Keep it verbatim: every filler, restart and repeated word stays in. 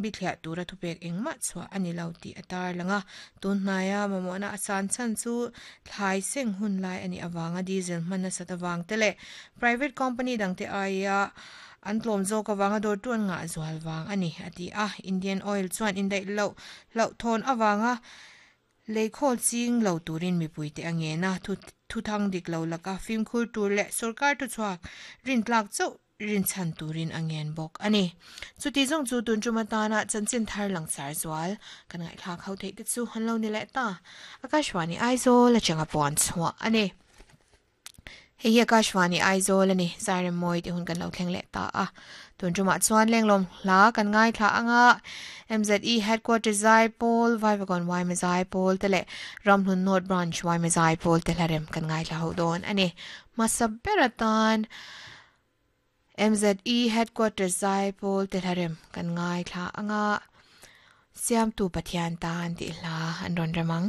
bithliah tura thupek engmah chhuah ani lo tih a tarlang a tunhnaia mamawhna a san chhan chu thlai seng hun lai ani awanga diesel hman nasat awang te leh private company dangte aia an tlawm zawk awanga dawr tu an ngah zual wang ani ati a Indian Oil chuan indaih lo hloh thawn awanga leikhawl ching lo turin mipui te ange na thu thu thang dik lo laka fimkhur tur leh sarkar tu chuak rin tlak chauh rin chan turin angen bawk ani chuti zawng chu tun chuma tana chanchin thar lang sar zual kan ngai thlak ho thei te chu han lo ni leh ta Akashvani Aizawl atanga puan chhuah ani hei hi Akashvani Aizawl ani zairem mawi te hun kan lo thleng leh ta a tun chuma chuan lenglawm hla kan ngai thla anga M Z E headquarters Zaipawl Vaivagon Y M Zaipawl te leh Ramhlun North Branch Y M Zaipawl te hlarem kan ngai thla ho dawn ani masaberatan M Z E headquarters Zaipawl te hlarem kan ngai thla anga siam tu Pathian tan ti hla an rawn remang.